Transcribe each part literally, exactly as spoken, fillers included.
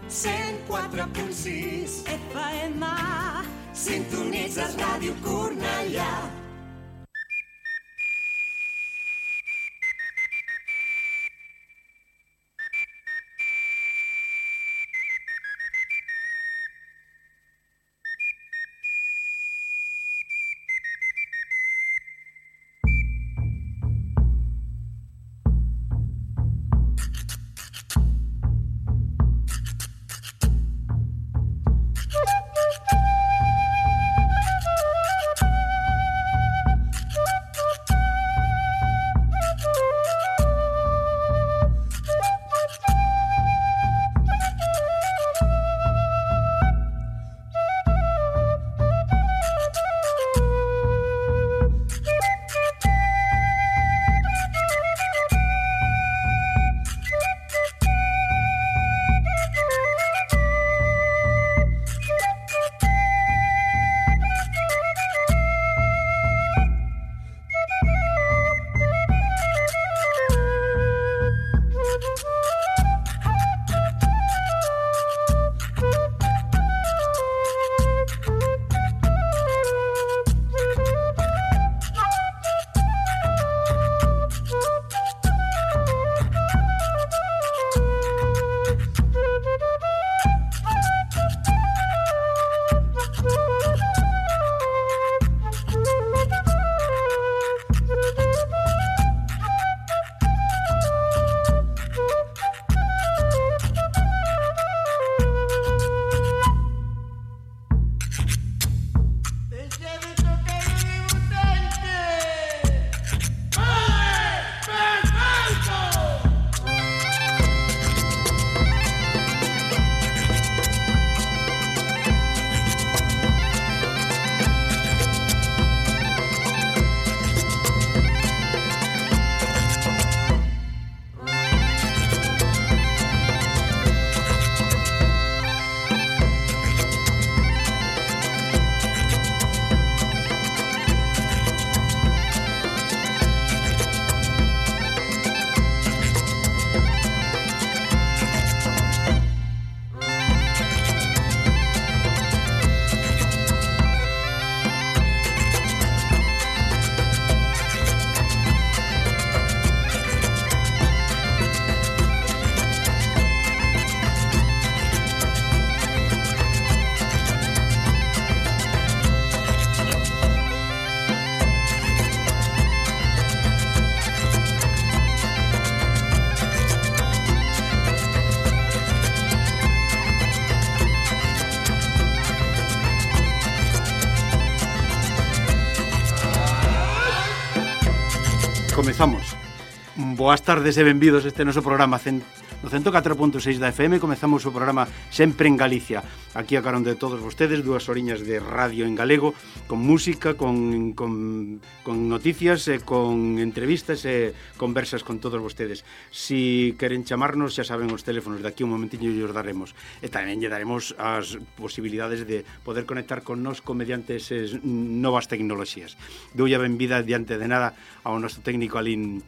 cent quatre punt sis F M. Sintonitzes Ràdio Cornellà. Comezamos. Boas tardes e benvidos a este noso programa no cento catro punto seis da F M. Comezamos o programa Sempre en Galicia. Aquí a carón de todos vostedes, dúas horiñas de radio en galego, con música, con, con, con noticias, e con entrevistas e conversas con todos vostedes. Si queren chamarnos, xa saben os teléfonos, de aquí un momentiño os daremos. E tamén lle daremos as posibilidades de poder conectar connosco mediante esas novas tecnoloxías. Doulle a benvida diante de nada ao noso técnico Alín,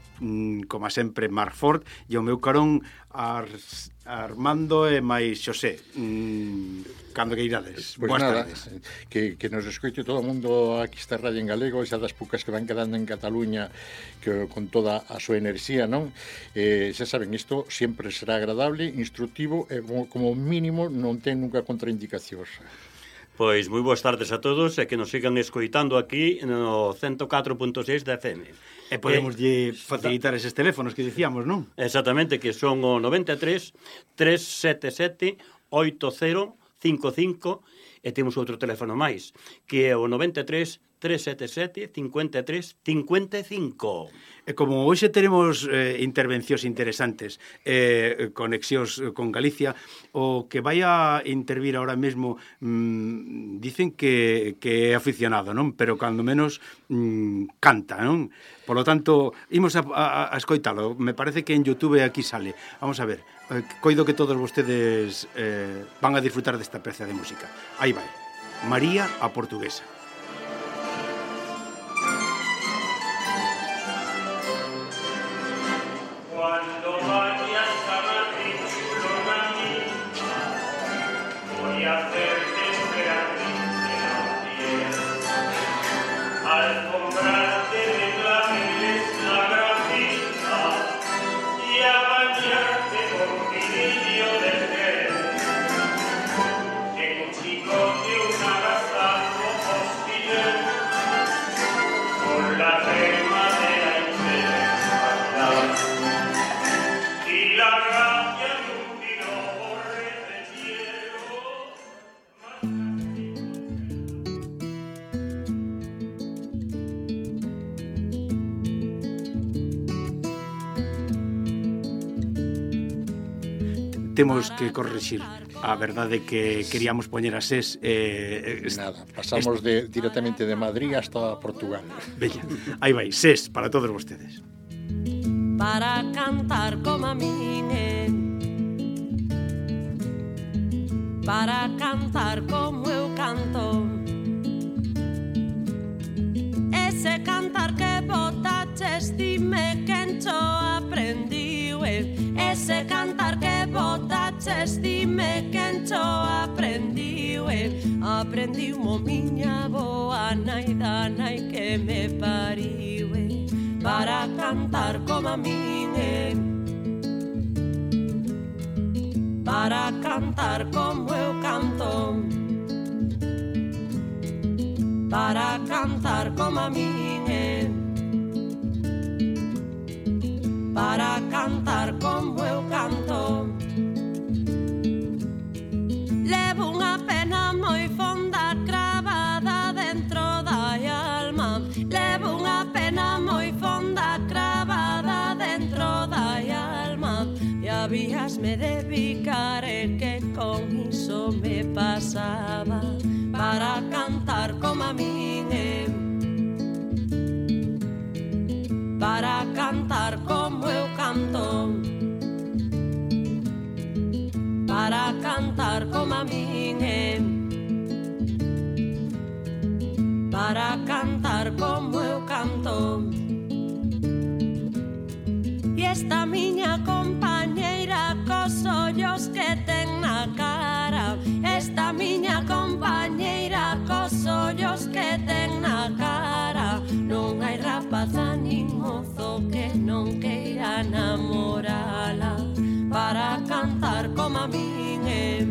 como sempre, Marc Ford, e ao meu carón Ar, Armando e máis Xosé. mm, Cando que irades. Pois Boas nada, tardes. que, que nos escoite todo o mundo aquí está radio en galego, xa das poucas que van quedando en Cataluña, que con toda a súa enerxía, non? Eh, xa saben, isto sempre será agradable, instructivo e como, como mínimo non ten nunca contraindicacións. Pois moi boas tardes a todos e que nos sigan escoitando aquí no cento catro punto seis da F M. E podemos lle facilitar eses teléfonos que dicíamos, non? Exactamente, que son o noventa e tres, tres sete sete, oito cero cinco cinco, e temos outro teléfono máis, que é o noventa e tres, tres sete sete, cinco tres cinco cinco. E como hoxe teremos eh, intervencións interesantes, eh, conexións con Galicia, o que vai a intervir ahora mesmo mmm, dicen que, que é aficionado, non? Pero cando menos mmm, canta, non? Por lo tanto, imos a, a, a escoitalo. Me parece que en YouTube aquí sale. Vamos a ver. Eh, coido que todos vostedes eh, van a disfrutar desta peza de música. Aí vai. María a Portuguesa. Cuando vayas a Madrid, chulo mami, hacerte esperanza al comprarte de claveles la grafita y a bañarte con cirillo de gel. Que un chico de un agasajo hostil con la rema de la infidelidad y la gracia de un tiro de hielo. Temos que corrixir a verdade que queríamos poñer a SES eh, est- Nada, pasamos de, directamente de Madrid hasta Portugal. Bella, aí vai, SES para todos vostedes. Para cantar como a min eh. Para cantar como eu canto. Ese cantar que botaches, dime quen cho aprendiu eh. Ese cantar que botaches, dime quen cho aprendiu eh. Aprendiu mo miña boa nai da nai que me pariu eh. Para cantar como a min eh. Para cantar como eu canto. Para cantar como a min eh. Para cantar como eu canto. Levo unha pena moi fonda cravada dentro da alma. Levo unha pena moi fonda cravada dentro da alma. E habíasme de picar e que con iso me pasaba. Para cantar como a min eh. Para cantar como eu canto. Para cantar como a min eh. Para cantar como eu canto. E esta miña compañeira cos ollos que ten na cara. Esta miña compañeira cos ollos que ten na cara. Non hai rapaza nin mozo que non queira namorala. Para cantar como a min eh.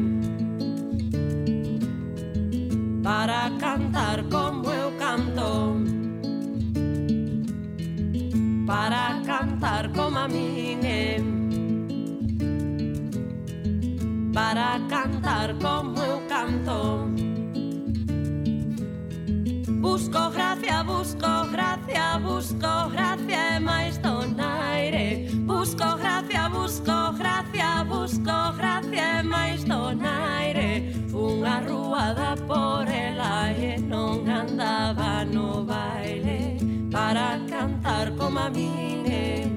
Para cantar como eu canto. Para cantar como a min eh. Para cantar como eu canto. Busco gracia, busco gracia, busco gracia e máis donaire. Busco gracia, busco gracia, busco gracia e máis donaire. Unha ruada por ela e non andaba no baile. Para cantar como a min eh.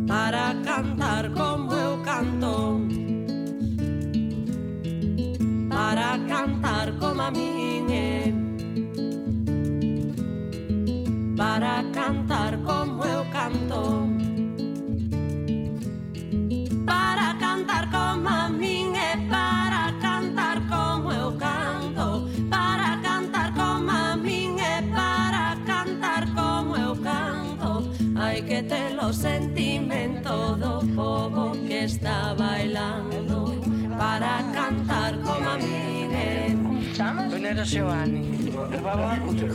Para cantar como eu canto. Para cantar como a min eh. Para cantar como eu canto. Para cantar como a min eh. Para cantar como eu canto. Para cantar como a min eh. Para cantar como eu canto. Hai que ter o sentimento do povo que está bailando. Para cantar como a min eh. Venera Seoane.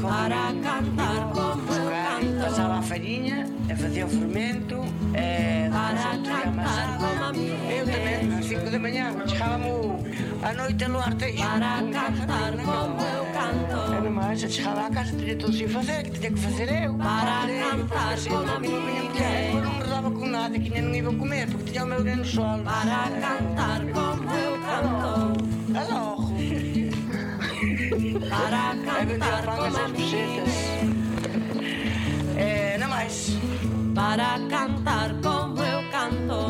Para cantar como eu canto. Pasaba a fariña e facía o fermento e Para cantar como a min eu tamén, ás cinco de mañá chegábamos a noite no arteixo. Para cantar como eu canto. E nomás, eu chegaba a casa, teria todo sin facer, que teria que facer eu. Para cantar como a min eh. Eu non me daba con nada, que non iba a comer, porque tiña o meu neno sol. Para cantar como eu canto. A logo. Para E vendía cantar pan como a esas min pesetas. E non máis. Para cantar como eu canto.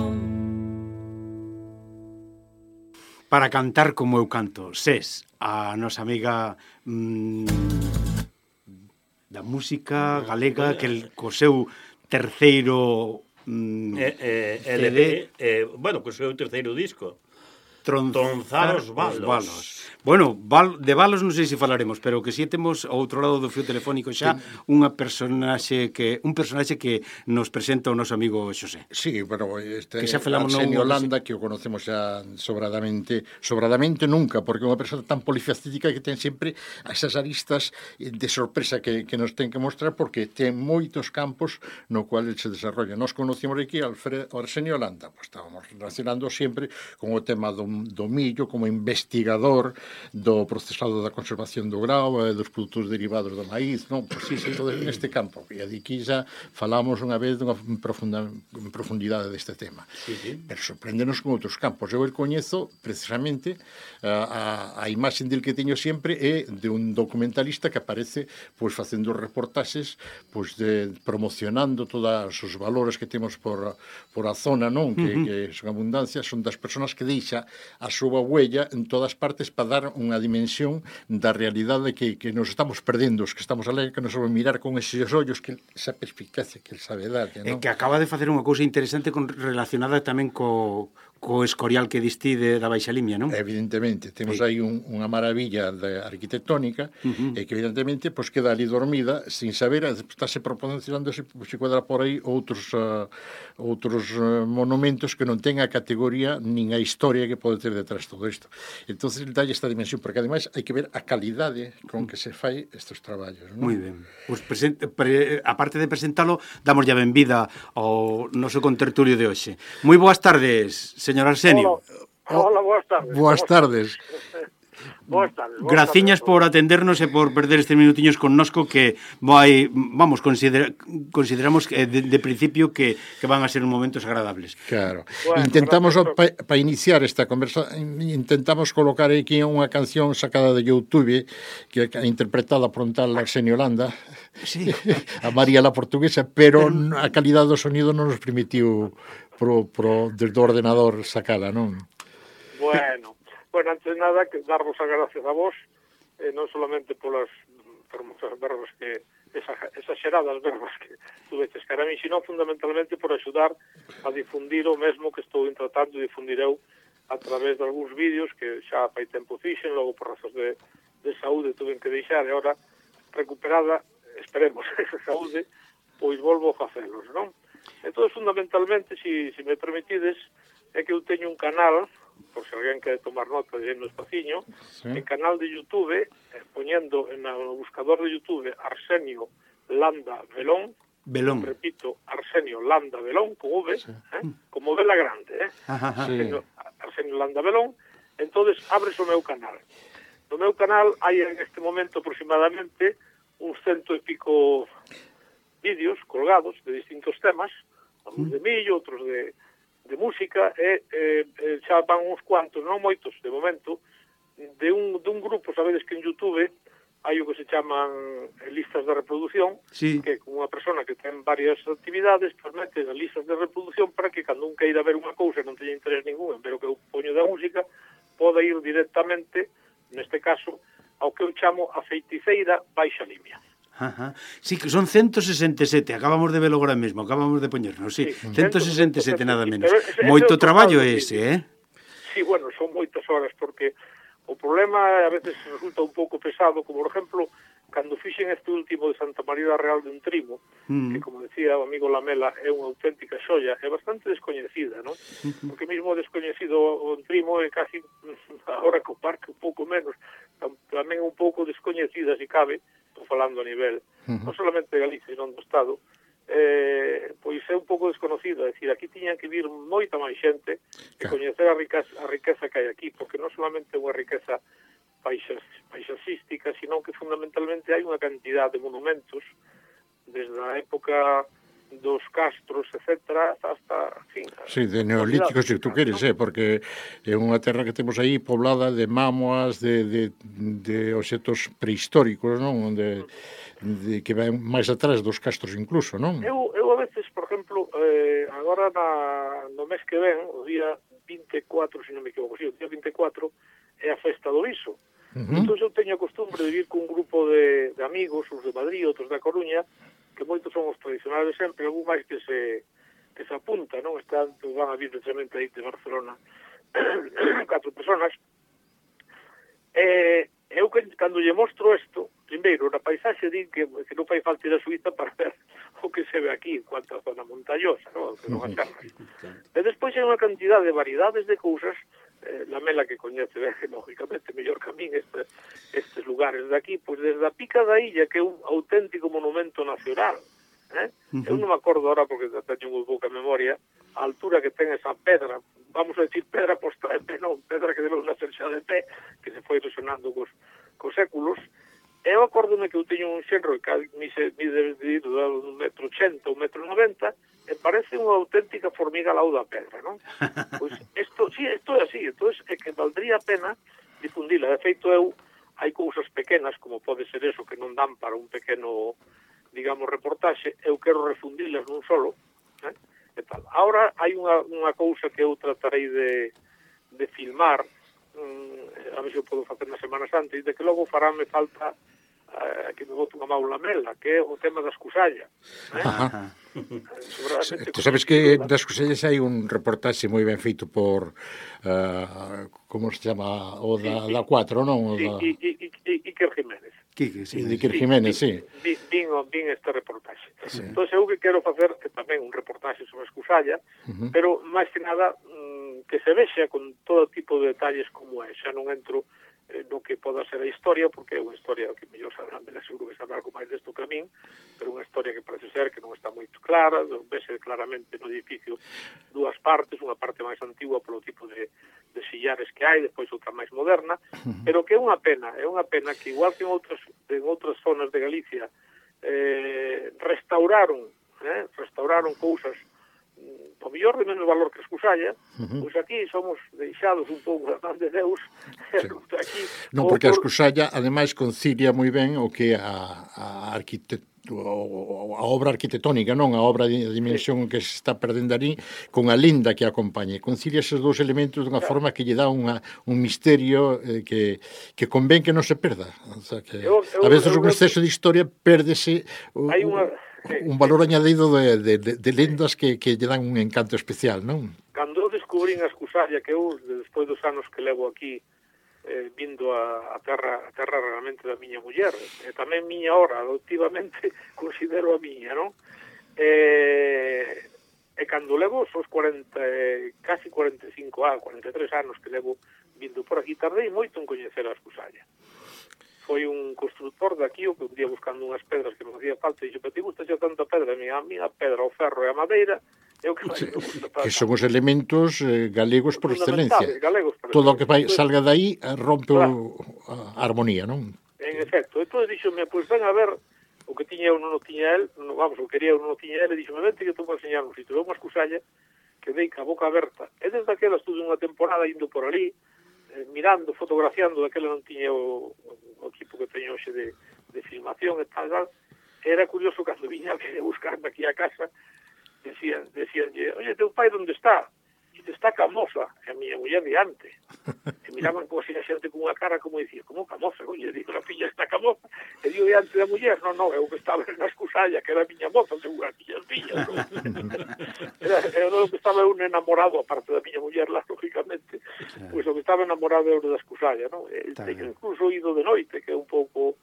Para cantar como eu canto, SES, a nosa amiga mmm, da música galega que el, co seu terceiro mm, eh, eh, C D. L P, eh, bueno, co seu terceiro disco. tronzar, Tronzar os balos. os balos. Bueno, val, de balos non sei se falaremos, pero que si temos ao outro lado do fio telefónico xa unha personaxe que un personaxe que nos presenta o noso amigo Xosé. Sí, pero este Que xa falamos Arsenio non- Landa, que o conocemos xa sobradamente, sobradamente nunca, porque é unha persona tan polifacética que ten sempre esas aristas de sorpresa que, que nos ten que mostrar, porque ten moitos campos no cual el se desarrolla. Nos conocemos aquí Alfred, Arsenio Landa, pues estábamos relacionando sempre con o tema do, do millo como investigador do procesado da conservación do grao e dos produtos derivados do maíz, non? Pois sí, sí, todo neste campo. E aquí xa falamos unha vez dunha profunda, en profundidade deste tema. Sí, sí. Pero sorpréndenos con outros campos. Eu el coñezo precisamente a, a, a imaxe del que teño sempre é de un documentalista que aparece pois facendo reportaxes pois de promocionando todos os valores que temos por, por a zona, non? Que, uh -huh. que son abundancia, son das persoas que deixa a súa huella en todas partes para dar unha dimensión da realidade que, que nos estamos perdendo, os que estamos alí, que nos vamos mirar con eses ollos, que esa perspicacia que el sabe dar, E non? que acaba de facer unha cousa interesante con, relacionada tamén co, co escorial que distí de, da Baixa Limia, non? Evidentemente, temos Sí. aí un, unha maravilla de arquitectónica uh -huh. e que evidentemente pues, queda ali dormida sin saber, estáse proporcionando se, se quedar por aí outros uh, outros uh, monumentos que non ten a categoría nin a historia que pode ter detrás todo isto. Entonces, dalle esta dimensión, porque ademais hai que ver a calidade con que se fai estes traballos, non? Moi ben. Pues presente, pre, aparte de presentalo, damos ya benvida ao noso contertulio de hoxe. Moi boas tardes, señor Arsenio. Hola, hola, boas tardes. Boas tardes. Boas tardes. Boas Graciñas tardes. por atendernos e por perder estes minutiños connosco que vai, vamos, considera, consideramos que de, de principio que, que van a ser momentos agradables. Claro. Bueno, intentamos gracias. para pa iniciar esta conversa, intentamos colocar aquí unha canción sacada de YouTube que é interpretada por un tal Arsenio Landa, Sí. a María la Portuguesa, pero a calidade do sonido non nos permitiu pro, pro, desde o ordenador sacala, non? Bueno, bueno, antes de nada, que darvos as gracias a vos, eh, non solamente polas fermosas verbas que, exageradas verbas que tuveches cara a mí, sino fundamentalmente por axudar a difundir o mesmo que estou tratando de difundir eu a través de algúns vídeos que xa fai tempo fixen, logo por razóns de, de saúde tuven que deixar, e agora recuperada, esperemos, esa saúde, pois volvo a facelos, non? Entón, fundamentalmente, se si, si me permitides, é que eu teño un canal, por se alguén quere tomar nota de no espaciño, Sí. en canal de YouTube, eh, poñendo en o buscador de YouTube Arsenio Landa Belón, Belón. repito, Arsenio Landa Belón, con V, Sí. eh, como vela grande, eh? Ajá, ajá. Sí. Arsenio, Arsenio Landa Belón, entonces abres o meu canal. No meu canal hai en este momento aproximadamente uns cento e pico vídeos colgados de distintos temas, algúns de millo, outros de, de música, e, e, e xa van uns cuantos, non moitos, de momento, de un, de un grupo, sabedes que en YouTube hai o que se chaman listas de reproducción, Sí. que con unha persona que ten varias actividades, pues mete as listas de reproducción para que cando un queira ver unha cousa e non teña interés ningún en ver o que eu poño da música, poda ir directamente, neste caso, ao que eu chamo a feiticeira Baixa Limia. Ajá. Sí, que son ciento sesenta e sete, acabamos de velo agora mesmo, acabamos de poñernos, sí, Sí, ciento sesenta e sete nada menos. Pero ese- ese Moito é o traballo total do ese, vídeo. eh? Sí, bueno, son moitas horas, porque o problema a veces resulta un pouco pesado, como por exemplo, cando fixen este último de Santa María da Real de un Trimo, Mm. que como decía o amigo Lamela, é unha auténtica xoia, é bastante descoñecida, non? Porque mesmo descoñecido o Trimo é casi, agora co parque un pouco menos, tam- tamén un pouco descoñecida, se cabe, estou falando a nivel, non solamente de Galicia, sino do Estado, eh, pois é un pouco desconocida, é dicir, aquí tiñan que vir moita máis xente e Claro. coñecer a riqueza, a riqueza que hai aquí, porque non solamente é unha riqueza paisas, paisaxística, sino que fundamentalmente hai unha cantidad de monumentos desde a época dos castros, etcétera, hasta, hasta en fin, Sí, de neolíticos, se tú queres, eh, porque é unha terra que temos aí poblada de mámoas, de, de, de obxetos prehistóricos, non? De, de, que van máis atrás dos castros incluso, non? Eu, eu a veces, por exemplo, eh, agora na, no mes que ven, o día vinte e cuatro, se non me equivoco, sí, o día vinte e cuatro é a festa do Iso. Uh Uh-huh. Entón eu teño a costumbre de vir cun grupo de, de amigos, uns de Madrid, outros da Coruña, que moitos son os tradicionales sempre, algún máis que se que se apunta, non? Están, van a vir precisamente aí de Barcelona catro personas, e eh, eu cando lle mostro isto, primeiro, na paisaxe din que, que non fai falta ir a Suíza para ver o que se ve aquí en cuanto a zona montañosa, non? Que non as terras. E despois hai unha cantidad de variedades de cousas, eh, la Mela que coñece, ben, lógicamente, mellor que a min este, estes lugares de aquí, pois desde a Pica da Illa, que é un auténtico monumento nacional, eh? Uh-huh. Eu non me acordo ahora, porque teño moi pouca memoria, a altura que ten esa pedra, vamos a decir pedra posta de pé, non, pedra que debeu nacer xa de pé, que se foi resonando cos, cos séculos. Eu acórdome que eu teño un xenro que mi se mide de un metro ochenta, un metro noventa, e parece unha auténtica formiga ao lado da pedra, non? Pois isto, sí, isto é así, entón é que valdría a pena difundila. De feito, eu, hai cousas pequenas, como pode ser eso, que non dan para un pequeno, digamos, reportaxe, eu quero refundilas nun solo, eh? E tal. Ahora hai unha, unha cousa que eu tratarei de, de filmar, mm, a ver se eu podo facer na Semana Santa, e de que logo farame falta Uh, que me bote unha maula mela, que é o tema da escusalla. Eh? Ajá. Tú sabes que das escusallas hai un reportaxe moi ben feito por uh, como se chama o da, sí, da cuatro, non? Sí, da... e, e, e, Iker Jiménez. Quique, sí. Iker Jiménez, sí. sí. Vin, vin este reportaxe. Sí. Entón, eu que quero facer que tamén un reportaxe sobre a escusalla, uh-huh. pero máis que nada mm, que se vexa con todo tipo de detalles como é. Xa non entro eh, no que poda ser a historia, porque é unha historia que mellor sabrán, me seguro que sabrá algo máis desto que a min, pero unha historia que parece ser que non está moito clara, vese claramente no edificio dúas partes, unha parte máis antigua polo tipo de, de sillares que hai, depois outra máis moderna, pero que é unha pena, é unha pena que igual que en outras, en outras zonas de Galicia eh, restauraron, eh, restauraron cousas o mellor de menos valor que a escusalla, uh-huh. pois aquí somos deixados un pouco da man de Deus. Sí. Aquí, non, porque a escusalla, ademais, concilia moi ben o que a, a arquitectura, a obra arquitectónica, non a obra de dimensión sí. que se está perdendo ali, con a linda que acompañe. Concilia esos dous elementos dunha claro. forma que lle dá unha, un misterio eh, que, que convén que non se perda. O sea, que eu, eu, a veces eu, un exceso eu, de historia pérdese hai unha un valor añadido de, de, de, de lendas que, que lle dan un encanto especial, non? Cando eu descubrín a escusalla, que eu, despois dos anos que levo aquí, eh, vindo a, a terra a terra realmente da miña muller, e tamén miña hora, adoptivamente, considero a miña, non? E, e cando levo os cuarenta, casi cuarenta e cinco anos, cuarenta e tres anos que levo vindo por aquí, tardei moito en coñecer a escusalla. Foi un constructor daqui, o que un día buscando unhas pedras que me hacía falta, e dixo, pero ti gusta xa tanta pedra? A minha, a minha pedra, o ferro e a madeira, é o que máis me gusta. Que son os elementos eh, galegos por excelencia. Galegos por Todo o que vai, salga daí rompe claro. o, a armonía, non? En efecto. Entón, dixome, pois ven a ver o que tiña eu non o tiña el, no, vamos, o que quería eu non o tiña el, e dixome, vente que te vou enseñar un sitio. Veu unha escusalla que dei ca boca aberta. E desde aquela estuve unha temporada indo por ali, mirando, fotografiando, daquela non tiña o, o equipo que teño hoxe de, de filmación e tal, tal. Era curioso cando viña a buscarme aquí a casa, decían, decían, oye, teu pai onde está? E te está Camosa, e a miña muller diante. E miraban como así a xente con unha cara como dicía, como Camosa? Oye, digo, a filla está Camosa. E digo diante da muller, non, non, é o que estaba na escusalla, que era a miña moza, según as miñas fillas. ¿No? Era, era o que estaba un enamorado, aparte da miña muller, lá, lógicamente, pois pues, o que estaba enamorado era da escusalla, non? E teño incluso ido de noite, que é un pouco...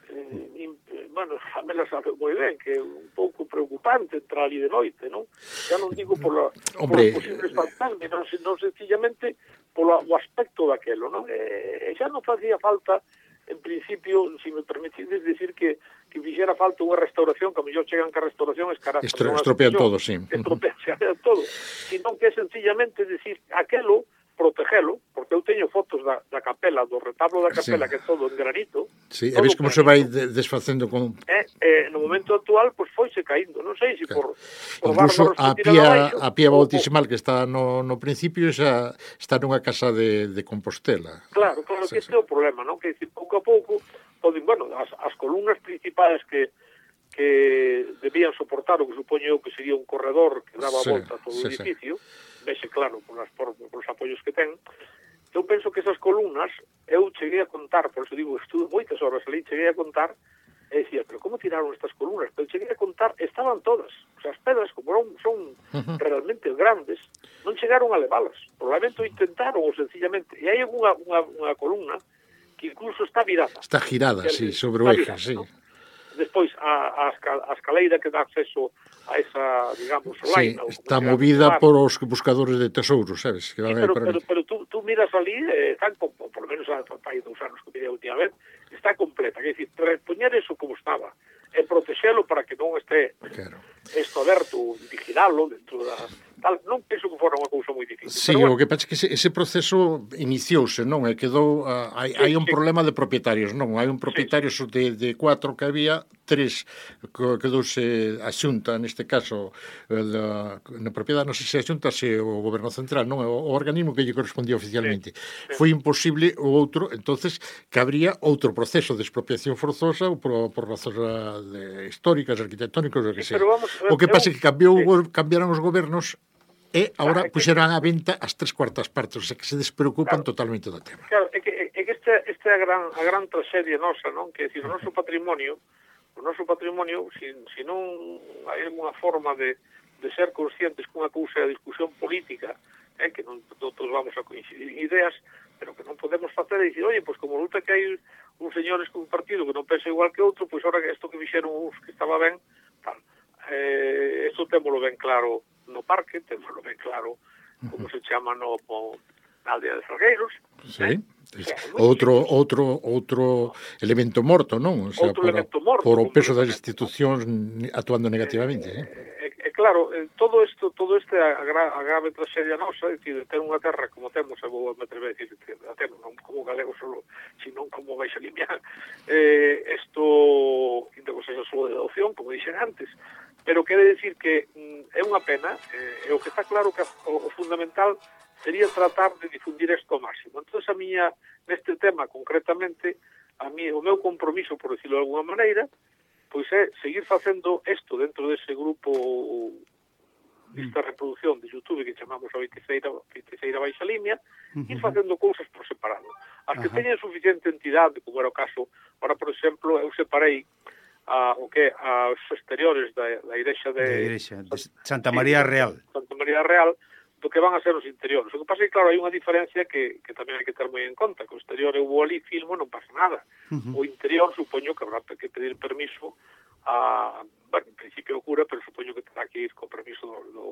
Eh, bueno, a me la sabe moi ben, que é un pouco preocupante entrar ali de noite, non? Ya non digo por, la, por os posibles fantasmas, non, non sencillamente por o aspecto daquelo, non? E, e xa non facía falta, en principio, se si me permitides decir que, que fixera falta unha restauración, que a mellor chegan que a restauración es cara... Estro, estropean todo, sí. Estropean todo, sino que é sencillamente decir aquelo, protegelo, porque eu teño fotos da, da capela, do retablo da capela, sí. que é todo en granito. Sí, e ves como se vai de, desfacendo con... Eh, eh, no momento actual, pois pues, foise caíndo, non sei se si por, por incluso a pía, a pía bautismal que está no, no principio xa está nunha casa de, de Compostela. Claro, claro, sí, que este sí. é o problema, non? Que decir, pouco a pouco, poden, bueno, as, as columnas principais que que debían soportar o que supoño eu que sería un corredor que daba sí, volta a todo sí, o edificio, sí. Vexe claro por, las, por, por os apoios que ten. Eu penso que esas columnas, eu cheguei a contar, por eso digo, estudo moitas horas ali, cheguei a contar E decía, pero como tiraron estas columnas? Pero cheguei a contar, estaban todas. O sea, as pedras, como non son uh-huh. realmente grandes, non chegaron a levalas. Probablemente o intentaron, ou sencillamente. E hai unha, unha, unha columna que incluso está virada. Está girada, sí, sobre o eje, sí. ¿No? Despois, a, a, a escaleira que dá acceso a esa, digamos, sí, laina. Está movida por os buscadores de tesouros, sabes? Que sí, pero, pero, pero tú, tú miras ali, eh, tan, por, por lo menos hai dous anos que mirei a última vez, está completa. Quer dizer, repoñer eso como estaba e protexelo para que non este claro. Esto aberto, vigilalo dentro da... Tal, non penso que fora unha cousa moi difícil. Sí, pero, bueno, o que pasa é que ese, ese proceso iniciouse, non? E quedou... Uh, hai, sí, hai un sí. problema de propietarios, non? Hai un propietario sí. de, de cuatro que había, tres quedouse a xunta, neste caso, la, na propiedade, non sei se a xunta, se o goberno central, non? O, o organismo que lle correspondía oficialmente. Sí. Sí. Foi imposible o outro, entonces, que habría outro proceso de expropiación forzosa ou por, por razóns de, históricas, arquitectónicas, o que sí, sea. O que pasa é que cambiou, sí. cambiaron os gobernos e agora claro, puxeran a venta as tres cuartas partes, o sea que se despreocupan claro, totalmente do tema. Claro, é que, é que esta, esta é a gran, a gran traxedia nosa, non? Que, decir, o noso patrimonio, o noso patrimonio, se si, si non hai alguna forma de, de ser conscientes que unha cousa é a discusión política, eh, que non todos vamos a coincidir en ideas, pero que non podemos facer e dicir, oye, pois pues, como luta que hai uns señores con un partido que non pensa igual que outro, pois pues, ahora que isto que fixeron uns que estaba ben, tal. Eh, isto témolo ben claro no parque, témolo ben claro como se chama no, no na aldea de Salgueiros. Sí. Eh? O sea, outro outro outro elemento morto, non? O sea, outro para, elemento morto. Por o peso das institucións actuando negativamente, eh? eh? E, claro, todo isto, todo este a, a grave traxedia nosa, é dicir, ter unha terra como temos, e vou me atrever a dicir, a temos, non como galego solo, sino como Baixa Limia, eh, isto, ainda que sexa só de adopción, como dixen antes, pero quere decir que mm, é unha pena, eh, e o que está claro que o, o fundamental sería tratar de difundir isto ao máximo. Entón, a miña, neste tema concretamente, a mí, o meu compromiso, por decirlo de alguna maneira, pois é seguir facendo isto dentro dese grupo desta reproducción de YouTube que chamamos a Feiticeira Baixa Limia, uh-huh. ir facendo cousas por separado. As que uh-huh. teñen suficiente entidade, como era o caso, ahora, por exemplo, eu separei a, o que aos exteriores da, da igrexa de, de, igrexa, de Santa María sí, Real. Santa María Real, do que van a ser os interiores. O que pasa é que, claro, hai unha diferencia que, que tamén hai que ter moi en conta, que o exterior eu vou ali, filmo, non pasa nada. Uh-huh. O interior, supoño que habrá que pedir permiso a, bueno, en principio o cura, pero supoño que terá que ir con permiso do, do,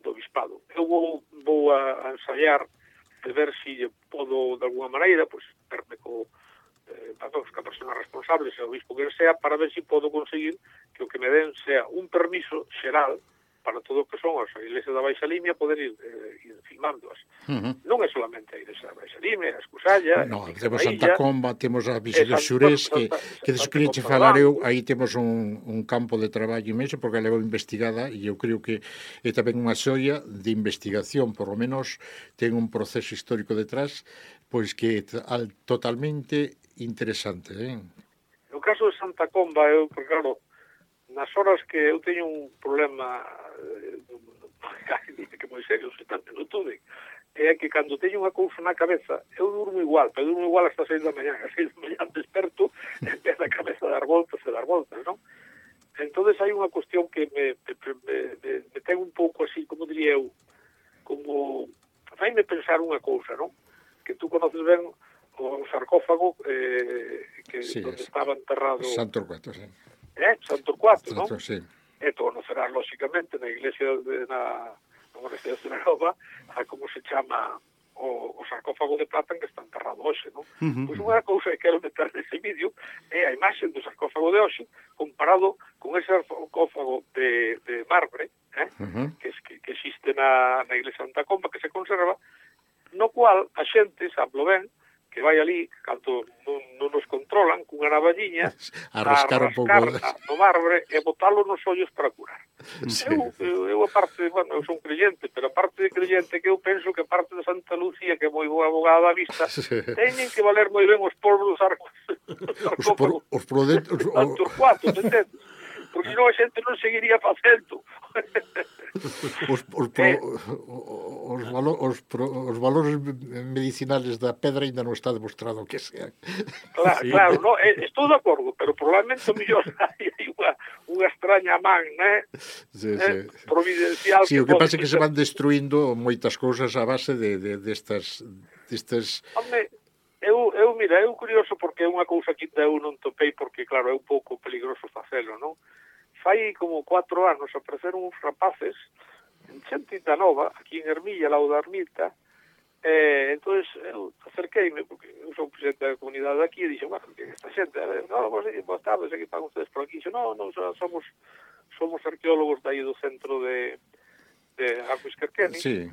do bispado. Eu vou, vou a, a ensayar de ver se si podo, de alguna maneira, pois, verme co eh, a persona responsable, se o bispo que sea, para ver se si podo conseguir que o que me den sea un permiso xeral para todo o que son as iglesias da Baixa Limia, poder ir, eh, ir filmándoas. Uh-huh. Non é solamente a iglesia da Baixa Limia, a Escusalla... No, temos Santa Comba, temos a Visa dos Xurés, que, que des que che falar eu, aí temos un, un campo de traballo imenso, porque a levo investigada, e eu creo que é tamén unha xoia de investigación, por lo menos ten un proceso histórico detrás, pois que é totalmente interesante. Eh? No caso de Santa Comba, eu, porque claro, nas horas que eu teño un problema que moi serio, se tanto non tuve, é que cando teño unha cousa na cabeza, eu durmo igual, pero durmo igual hasta seis da mañá, a seis da mañá desperto, empeza a cabeza a dar voltas e dar voltas, non? Entonces hai unha cuestión que me, me, me, me ten un pouco así, como diría eu, como faime pensar unha cousa, non? Que tú conoces ben o sarcófago eh, que sí, donde estaba enterrado Santo Torcuato, sí. Eh? Santo Torcuato, non? Sí. E tú conocerás, lóxicamente, na iglesia de, na, na Universidade de Celanova, a como se chama o, o sarcófago de plata en que está enterrado hoxe, non? Uh-huh. Pois unha cousa que quero meter nese vídeo é a imaxe do sarcófago de hoxe comparado con ese sarcófago de, de marbre, eh? Uh-huh. que, que, que existe na, na iglesia de Santa Comba, que se conserva, no cual a xente, sablo ben, que vai ali, canto non, non nos controlan, cunha navalliña, a rascar, a rascar un pouco no marbre e botalo nos ollos para curar. Sí. Eu, eu, eu, aparte, bueno, eu son creyente, pero aparte de creyente que eu penso que parte de Santa Lucía, que é moi boa abogada da vista, sí. teñen que valer moi ben os polvos dos arcos. Os, por, os prodentos... Os Torcuatos, entendes? Porque senón a xente non seguiría facendo. os, os, pro, os, valo, os, pro, os valores medicinales da pedra ainda non está demostrado que sean. Claro, sí. Claro, no, estou de acordo, pero probablemente o mellor hai unha, unha extraña man, né? Sí, eh, sí. Providencial. Sí, que o que pasa é que se van destruindo moitas cousas a base de, de, destas... destas... Hombre, eu, eu, mira, é curioso porque é unha cousa que eu non topei porque, claro, é un pouco peligroso facelo, non? Fai como cuatro anos apareceron uns rapaces en Xentita Nova, aquí en Ermilla, lao da Ermita, eh, entonces eu acerqueime, porque eu sou presidente da comunidade aquí, e dixo, bueno, que esta xente, a ver, no, vos, boas tardes, aquí pagan ustedes por aquí, dixo, no, no, somos somos arqueólogos de aí do centro de, de Albuquerque, sí,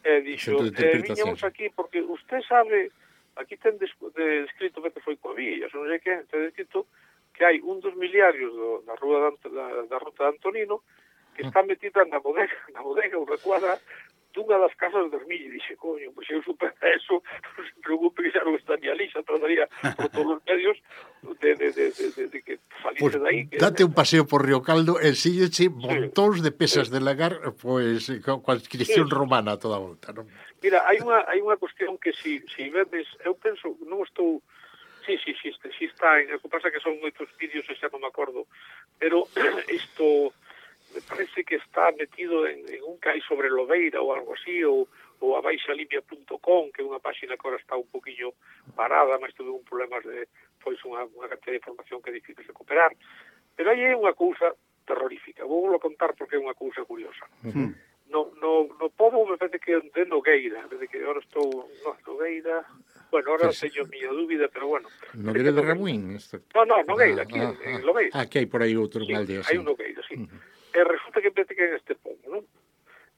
e dixo, eh, viñamos aquí porque usted sabe, aquí ten descrito que foi coa villa, non sei que, ten descrito que hai un dos miliarios do, da, rúa da, da, da ruta de Antonino que está metida na bodega, na bodega ou recuadra dunha das casas de Ermilla. E dixe, coño, pois eu supera eso, non se preocupe que xa non estaría ali, xa trataría por todos os medios de, de, de, de, de, de que salise pues, dai. Que, date un paseo por Río Caldo, el sígueche montóns de pesas sí. de lagar, pois, pues, coa inscripción sí. romana a toda a volta, non? Mira, hai unha, hai unha cuestión que si, si vedes, eu penso, non estou... Sí, sí, sí, sí está, o que pasa que son moitos vídeos e xa non me acordo, pero isto me parece que está metido en, en un que hai sobre Lobeira ou algo así, ou, ou a baixalimia punto com, que é unha página que agora está un poquinho parada, mas tuve un problema de, pois, unha, unha cantidad de información que é difícil recuperar, pero aí é unha cousa terrorífica, vou vos contar porque é unha cousa curiosa. Uh-huh. No, no, no pobo me parece que de Nogueira, de que agora estou, no, Nogueira... Bueno, ahora sí. teño miña dúbida, pero bueno. Nogueira de Ramuín? Esto... No, no, Nogueira, aquí ah, en, en ah, Lobeira. Ah, que hai por aí outro sí, aldea, hai sí. un Nogueira, sí. Uh-huh. E resulta que parece que en este pobo, non?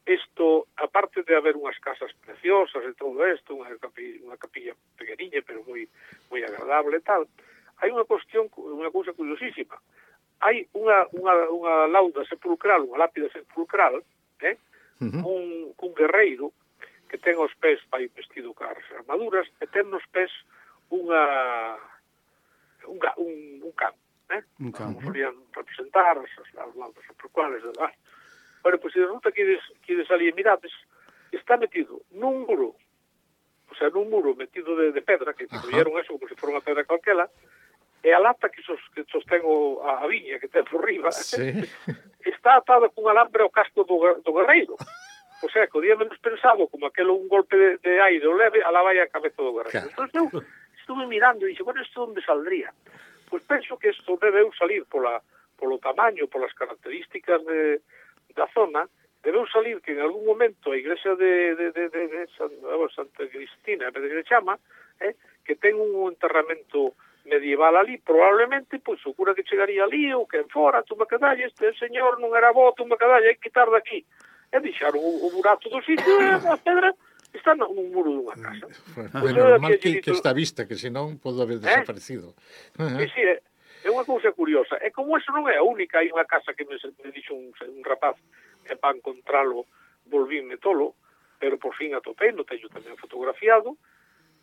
Isto, aparte de haber unhas casas preciosas e todo isto, unha capilla, unha capilla pequeniña, pero moi moi agradable e tal, hai unha cuestión, unha cousa curiosísima. Hai unha, unha, unha lauda sepulcral, unha lápida sepulcral, eh? Uh-huh. un, un guerreiro que ten os pés vai vestido cas armaduras e ten nos pés unha un, un, un can, eh? Un can. Como solían representar as, as laudas sepulcrales de lá. Bueno, pois pues, resulta que ides, que ides ali e mirades, está metido nun muro, o sea, nun muro metido de, de pedra, que construyeron eso como se fora unha pedra calquela, e a lata que, sos, que sostén o, a, a viña que ten por riba, sí. está atada cun alambre ao casco do, do guerreiro. O sea, que o día menos pensado, como aquelo un golpe de, de aire o leve, alá vai a cabeza do guerreiro. Entón, eu estuve mirando e dixo, bueno, isto onde saldría? Pois penso que isto debeu salir pola, polo tamaño, polas características de, da zona, debeu salir que en algún momento a igrexa de, de, de, de, de San, Santa Cristina, que se chama, eh, que ten un enterramento medieval ali, probablemente, pois, o cura que chegaría ali, ou que en fora, tú me cadalles, este señor non era bo, tú me cadalles, hai que quitar daqui. E deixaron o, o burato do sitio e a pedra está no muro dunha casa. Pues, bueno, normal que, que está vista, que senón pode haber desaparecido. Eh? Uh-huh. Sí, sí, é, é unha cousa curiosa. E como eso non é a única, hai unha casa que me, me dixo un, un rapaz que para encontralo volvíme tolo, pero por fin atopei, no teño tamén fotografiado.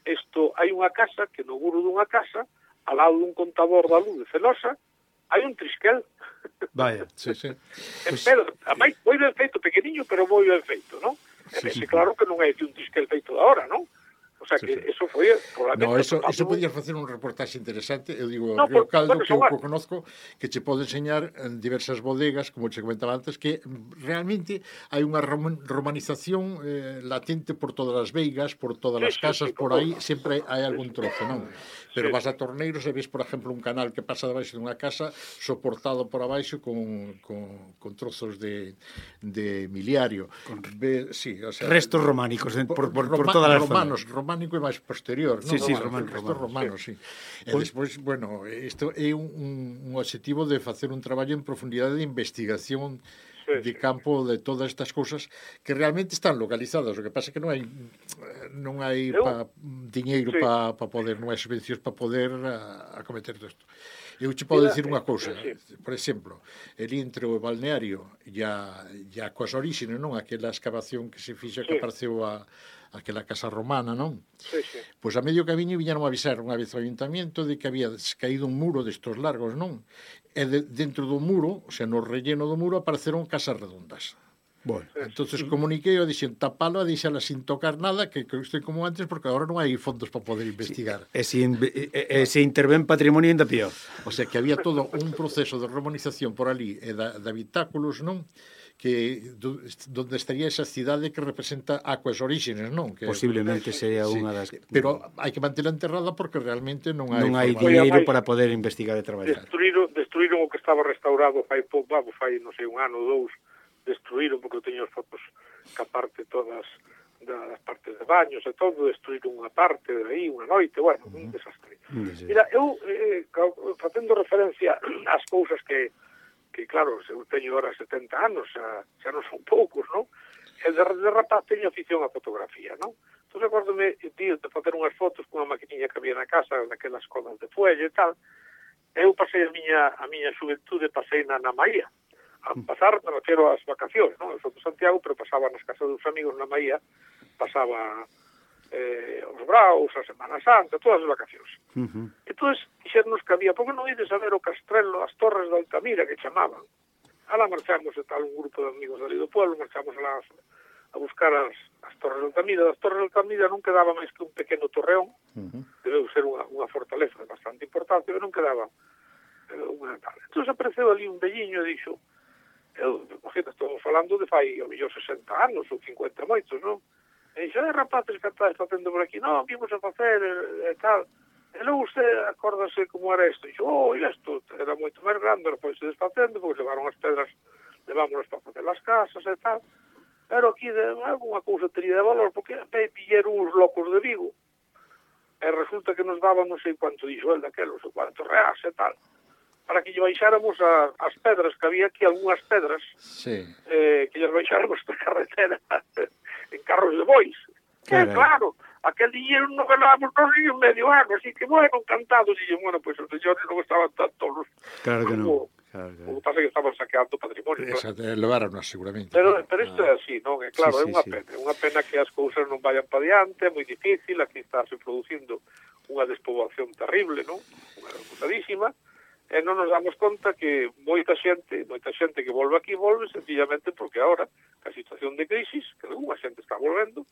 Isto, hai unha casa que no muro dunha casa, ao lado dun contador da luz de Celosa, hai un trisquel. Vaya, sí, sí. Pues... Pero, ademais, moi ben feito, pequeniño, pero moi ben feito, non? Sí, sí. Claro que non é un trisquel feito de ahora, non? O sea, que sí, sí. Eso foi... No, eso, eso podías facer un reportaxe interesante, eu digo, no, Río Caldo, bueno, que eu a... conozco, que che pode enseñar en diversas bodegas, como che comentaba antes, que realmente hai unha romanización eh, latente por todas as veigas, por todas sí, as casas, sí, sí, por aí, todo. Sempre hai algún trozo, non? Pero sí. Vas a Torneiros e ves, por exemplo, un canal que pasa debaixo dunha casa soportado por abaixo con, con, con trozos de, de miliario. Con... Ve, sí, o sea, restos románicos de, por, por, por, por todas as romanos, zonas. Románico e máis posterior, sí, non? Sí, romano, romano, romano, romano, sí. sí. E despois, bueno, isto é un, un objetivo de facer un traballo en profundidade de investigación sí, de campo de todas estas cousas que realmente están localizadas. O que pasa é que non hai non hai pa, diñeiro sí. para pa poder, non hai subvencións para poder a, acometer isto. Eu che podo dicir unha cousa, por exemplo, el entre o balneario e a, e a coas orixines, non? Aquela excavación que se fixa que apareceu a aquela casa romana, non? Sí, sí. Pois a medio camiño viñeron a avisar unha vez ao ayuntamiento de que había caído un muro destos largos, non? E de, dentro do muro, o sea, no relleno do muro apareceron casas redondas. Bueno, Entonces comuniquei e dixen tapalo e deixala sin tocar nada, que, que estoy como antes, porque agora non hai fondos para poder investigar. e se, inve- e, e se intervén patrimonio ainda peor. O sea, que había todo un proceso de romanización por ali e da, de habitáculos, non? Que do, donde estaría esa cidade que representa Aquas Orígenes, non? Que, Posiblemente sea sí, unha das... pero hai que mantela enterrada porque realmente non hai non hai forma. diñeiro Oye, para poder investigar e traballar. Destruíron, destruíron o que estaba restaurado fai pouco, vamos, fai, non sei, un ano ou dous, destruíron, porque eu teño as fotos que aparte todas das partes de baños e todo, destruíron unha parte de aí, unha noite, bueno, uh -huh. un desastre. Uh -huh. Mira, eu, eh, facendo referencia ás cousas que que claro, eu teño ahora setenta anos, xa, xa non son poucos, non? E de, de rapaz teño afición á fotografía, non? Entón, acórdome, tío, de facer unhas fotos cunha maquinilla que había na casa, daquelas colas de fuelle e tal. Eu pasei a miña, a miña xuventude, pasei na, na Maía. A pasar, me refiero ás vacacións, non? Eu sou de Santiago, pero pasaba nas casas dos amigos na Maía, pasaba eh, os Braus, a Semana Santa, todas as vacacións. Uh -huh. Entón, dixernos que había, porque non ides a ver o Castrelo, as Torres de Altamira, que chamaban. Alá marchamos e tal, un grupo de amigos dali do pueblo, marchamos alá a buscar as, as Torres de Altamira. Das Torres de Altamira non quedaba máis que un pequeno torreón, uh -huh. debeu ser unha, unha fortaleza de bastante importante, pero non quedaba eh, unha tal. Entón, apareceu ali un velliño e dixo, eu, imagina, estamos falando de fai, ao mellor, sesenta anos ou cincuenta moitos, non? E dixo, eh, rapaces, que estáis facendo por aquí? Non, vimos a facer e, e tal. E logo usted acórdase como era isto. E dixo, oh, e isto era moito máis grande, foi se desfacendo, porque levaron as pedras, levámonos para facer as casas e tal. Pero aquí de alguna cousa tería de valor, porque me pilleron uns locos de Vigo. E resulta que nos daban non sei quanto dixo el daquelos, ou quanto reais e tal, para que lle baixáramos a, as pedras, que había aquí algunhas pedras, sí. eh, que lle baixáramos da carretera en carros de bois. Que, claro, aquel dinheiro non ganábamos nos ni un medio ano, así que, bueno, encantados. E, bueno, pues os señores non estaban tan tolos. Claro que non. Claro, claro. O que pasa é que estaban saqueando patrimonio. Esa, claro. Levaron seguramente. Pero, pero isto ah. é así, non? É claro, sí, é unha sí, pena. sí. É unha pena que as cousas non vayan para diante, é moi difícil, aquí está se producindo unha despoboación terrible, non? Unha repusadísima. E non nos damos conta que moita xente, moita xente que volve aquí volve sencillamente porque agora, a situación de crisis, que unha xente está volvendo,